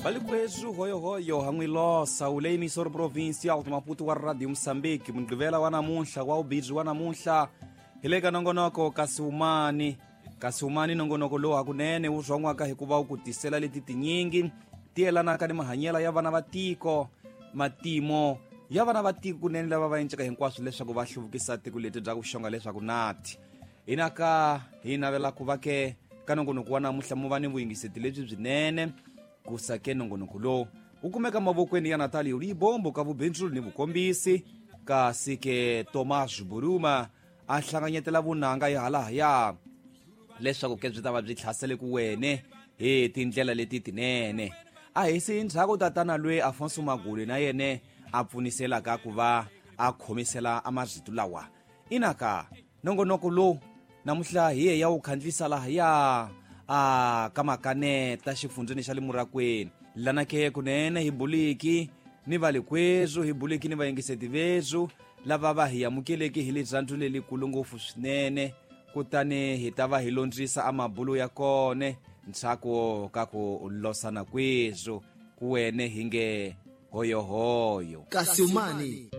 Valikwethu hoyohoyo han'wilosa wu le emissor provincial de Maputo wa Radio Moçambique. Mugqivela wa namuntlha wa ubidzi wa namuntlha hi le ka nongonoko Kasiumani. Kasiumani nongonoko lowu hakunene wu zwan'waka hikuva wu ku tisela leti tinyingi ti yelanaka ni mahanyelo ya vana va tiko, matimo ya vana va tiko kunene lava va enceka hinkwaswo leswaku va hluvukisa tiko leti bya ku xonga leswaku nati hinaka hi navela ku va ke ka nongonoko wa namuntlha mu va ni vuyingiseti lebyi byinene. Kusa ke nongonoko lowu wu kumeka mavokweni ya Natalio Libombo ka vubindzulu ni vukombisi, kasi ke Tomas Buruma a hlanganyetela vunanga ya halahaya leswaku ke byi ta va byi tlhasele ku wene hi tindlela leti tinene. A hi si ndzhaku tatana lwe Afonso Maguli na yene a pfuniselaka ku va a khomisela amazito lawa. Inaka nongonoko lowu namuntlha hi ye ya wu khandlisa lahaya a ka makaneta xifundzeni xa le Murakweni, lana ke kunene hi buliki ni valikwethu, hi buliki ni vayingiseti vethu lava va hi amukeleki hi lirhandzu lelikulu ngopfu swinene. Kutani hi ta va hi londzisa amabulu ya kone ntshaku ka ku losana kwethu ku wene hi nge hoyohoyo. Kasiumani.